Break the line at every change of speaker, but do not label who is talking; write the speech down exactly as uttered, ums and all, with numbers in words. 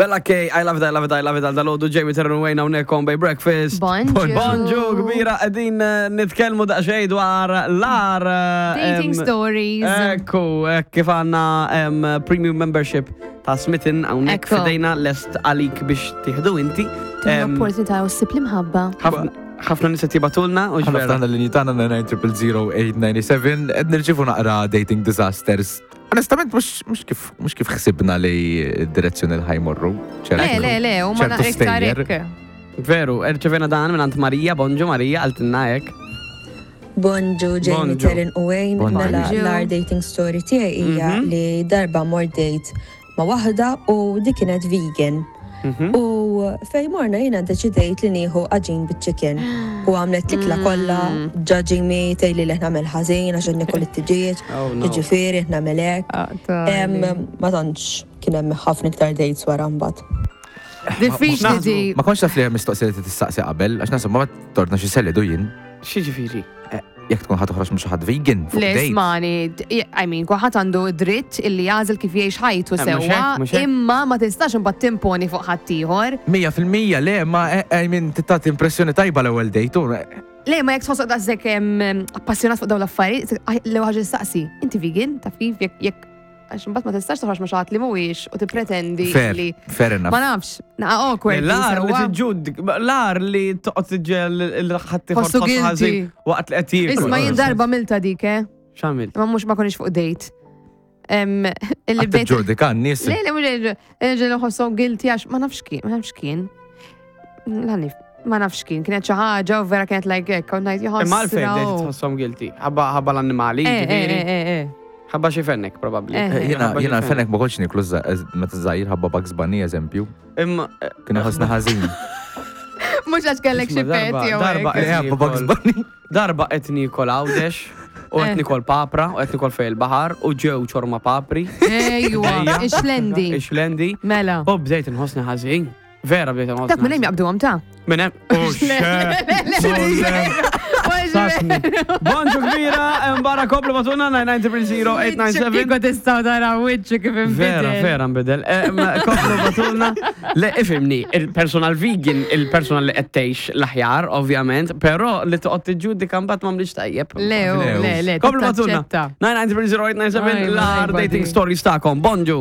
Bella K, I love it, I love it, I love it, għal dalgħodu Jamie Terran Wayne hawnhekk on Bay Breakfast.
Bonġu.
Bonġu, kbira, qegħdin eh, nitkellmu daqsxejn dwar l-agħar. eh,
Dating
em,
stories.
Ekku, hekk kif għandna em, premium membership ta' Smitten hawnhekk
Ekku.
f'idejna lest għalik biex tieħdu inti. Em,
Opportunità u ssib l-imħabba.
ħafna ħafna nies qed jibagħtulna u
Ħana
ġvera.
ftaħna l-linji tagħna nine zero zero eight nine seven qed nirċievu naqra dating disasters. Onestament mhux mhux kif mhux kif ħsibna li d-direzzjoni li ħa jmorru.
Le, le, le, u ma
ċertu
naqra iktar
stejjer.
hekk.
Veru, rċevena dan minn Marija, bonġu Marija, qaltilna hekk.
Bonġu, Jamie,
Bonġu.
Terran u Wayne.
Bonġu.
Mela,
Bonġu.
l-agħar dating story tiegħi hija
Mhm.
li darba mort date ma' waħda u dik kienet vegan.
Mhm.
U fej morna jiena deċidejt li nieħu għaġin bit-chicken. U għamlet l-ikla kollha, judging me, tgħidli li nagħmel ħażin għax nikol it-tiġieġ,
Oh, no.
jiġifieri nagħmel hekk.
Ah,
Em, Ma tantx kien hemm ħafna iktar dates wara mbagħad.
Diffiċli di.
Ma kontx taf li hemm mistoqsija li tistaqsi qabel, għax naħseb ma torna xi selidu jien.
X'jiġifieri?
Jekk tkun ħa toħroġ minn xi ħadd vegan fuq
Le,
date.
ismani, I mean, kulħadd għandu dritt illi jagħżel kif jgħix ħajtu
Eh, mhux
sewwa,
hekk, mhux hekk.
imma ma tistax imbagħad timponi fuq ħaddieħor.
Mija fil-mija le, ma eh, I mean tagħti impressjoni tajba l-ewwel date. u, eh,
Le, ma jekk tħossok daqshekk em, appassjonat fuq dawn l-affarijiet, l-ewwel ħaġa tistaqsi, inti vegan, taf kif jekk jekk għax imbagħad ma tistax toħroġ ma' xi ħadd li mhuwiex u tippretendi
Fair,
li
fair enough.
ma nafx, naqa awkward.
L-agħar li
sewwa.
tiġġud, l-agħar li toqgħod tiġġel il-ħadd
Ħossu guilty.
waqt li qed jiekol.
Isma' jien darba għamiltha dik, eh?
X'għamilt?
Ma mhux ma konniex fuq date. Em, Illi
Għad
bdejt.
tiġġudika n-nies.
Le, le, mhux ġelu ħossom guilty għax ma nafx kien, ma nafx kien. Lani, ma nafx kien, kienet xi ħaġa u vera kienet like hekk, u ngħid
Imma għalfejn bdejt
jħossra.
tħosshom guilty. Ħabba ħabba l-annimali,
Eh, eh,
ġifieri.
eh, eh.
Ħabba xi fenek probabbli.
Eh.
Eh, Jiena
Ħabba xi
jiena fenek ma kontx niklu meta żgħir ħabba Bugs Bunny eżempju.
Imma eh,
Kien ħossna ħażin.
Mhux għax kellek xi
Isma' darba-
pet jew
darba-
hekk.
Le, ħabba Bugs Bunny.
darba qed nikol Għawdex u qed
Eh.
nikol papra u qed nikol fejn il-baħar u ġew ċorma papri.
Ejwa,
Ejja.
ix-xlendi.
Ix-xlendi.
Mela.
U bdejt inħossni ħażin. Vera bdejt inħossni.
Dak minn hemm jaqbduhom ta'
Minn hemm. Oh, Sasni. Bonġu kbira, mbara koplu batuna nine nine zero zero eight nine seven.
Kieku tistgħu taraw wiċċu kif inbidel.
Vera, vera nbidel. Eh, ma Koplu batulna. Le, ifhimni, il-personal vegan, il-personal li qed tgħix l-aħjar, ovvjament, però li toqgħod tiġġudika mbagħad m'għamlix tajjeb.
Le, oh,
Le,
le, le,
Koplu batulna.
taċċetta.
nine nine zero zero eight nine seven
Aj,
l-agħar
ma
dating
jbadi.
stories tagħkom. Bonġu.